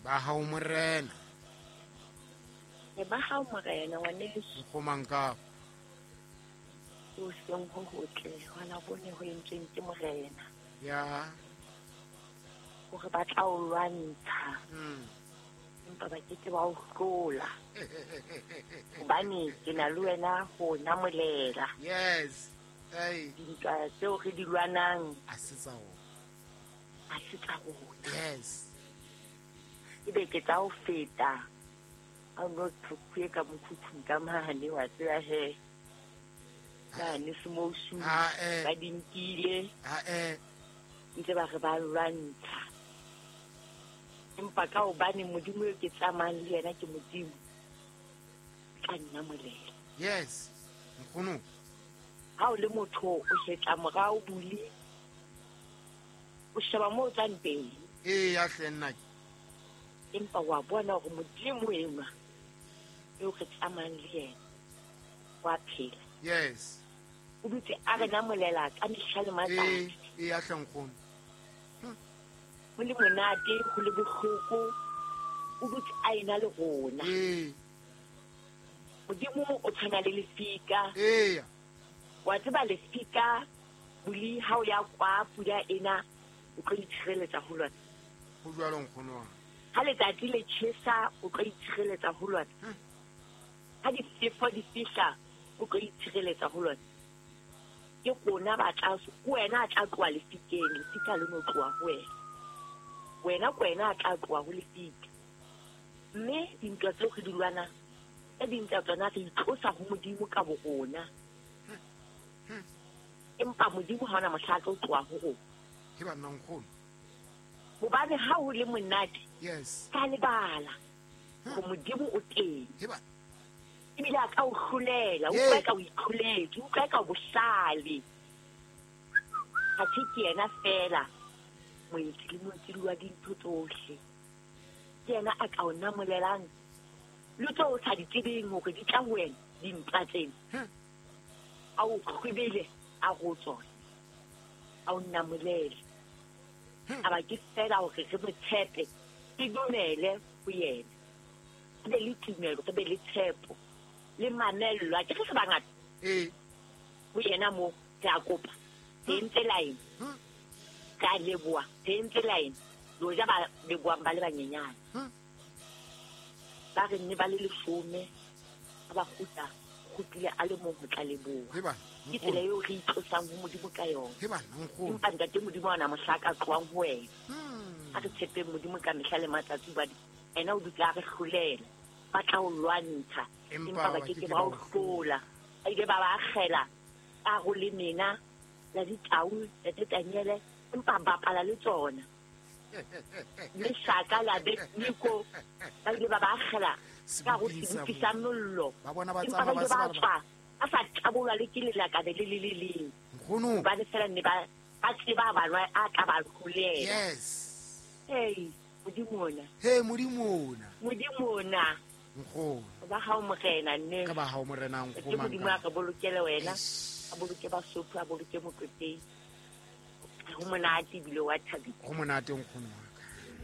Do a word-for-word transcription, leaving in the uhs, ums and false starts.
Ba hao morena. E ba hao morena ngwaneso. Nkgomanka. O seng ho hotle hona bone ho entsweng ke morena. Ya. Hore ba tla o lwantsha. Mm. Empa ba ke ke ba o hlola. Hobane ke na le wena ho namolela. Yes. Hey. Dintwa tseo re di lwanang a se tsa rona. A se tsa rona. Yes. Ebe ke tla o feta. A no thukwe ka mokhukhung ka mane wa tseba he. Mane semousu ba di nkile. Ha eh. Ntse ba re ba lwantsha. Empa ka hobane Modimo eo ke tsamayang le yena ke Modimo, tla nnamolela. Yes. Nkgono. Ha o le motho o hetla morao buli, o sheba moo o tswang teng. Ee, ya hle nna. Empa wa bona hore Modimo enwa eo re tsamayang le yena wa phela. Yes. O dutse a re namolela ka mehla le matsatsi. Ee, ya hle nkgono. Ho le monate, ho le bohloko, o dutse a ena le rona. Ee. Modimo o tshwana le lefika. Ee. Wa tseba lefika buli ha o ya kwa pula ena o tlo itshireletsa ho lona. Ho jwalo nkgono wa. Ha letsatsi le tjhesa o tlo itshireletsa ho lona. Ha difefo di fihla o tlo itshireletsa ho lona. Ke rona ba tla, ke wena a tla tloha lefikeng, lefika le no tloha ho wena. Wena ke wena a tla tloha ho lefika. Mme dintwa tseo re di lwanang, tse ding tsa tsona re itlosa ho Modimo ka bo rona. Empa Modimo ha ona mohla a tlo tloha ho rona. Ke banna nkgono. Hobane ha ho le monate, yes, ka lebala hore Modimo o teng. Ke ba ebile a ka o hlolela, o utlwa ka o itlholetse, o utlwa ka o bohlale. Ha se ke yena feela moetsi le moetsi wa dintho tsohle. Ke yena a ka o namolelang le tseo o sa di tsebeng hore di tla ho wena dintwa tsena. A o kgwebele a go tsona, a o namolele. A ba ke fela hore re mo tshepe, re dumele ho yena. Re be le tumelo, re be le tshepo le mamello. A ke re se bangata ee ho yena moo re a kopa, re entse line, re a leboha, re entse line. Loja ba lebohang ba le banyenyane, ba re nne ba le leshome, ha ba kgutla, kgutlile a le mong ho tla leboha. Ke tsela eo re itlosang ho Modimo ka yona. Empa ntate Modimo ha ona mohla a ka tlohang ho wena. Ha re tshepeng Modimo ka mehla le matsatsi, hobane ena o dutse a re hlolela. Ba tla o lwantsha, empa ba ke ke ba o hlola. Ba ile ba ba akgela ka ho le mena la ditau, la Daniele, empa ba bapala le tsona. Le shaka la Abednego, ba ile ba ba akgela ka ho sebopi sa mollo. Ba bona ba Empa ba tsamaya ba ile se ba ba tswa a sa tabolwa le ke lelakabe le le le leng. Nkgono. Hobane fela ne ba, ba tseba ba lwa, a tla ba hlolela. Yes. Hey, Modimo ona. Hey, Modimo ona. Modimo ona. Nkgono. Ba hao morena nne. Ka ba hao morena nkgono. Ke Modimo a re bolokele wena. Eish. A boloke Basotho, a boloke Motlotleng. Ho monate ebile wa thabisa. Ho monate nkgono.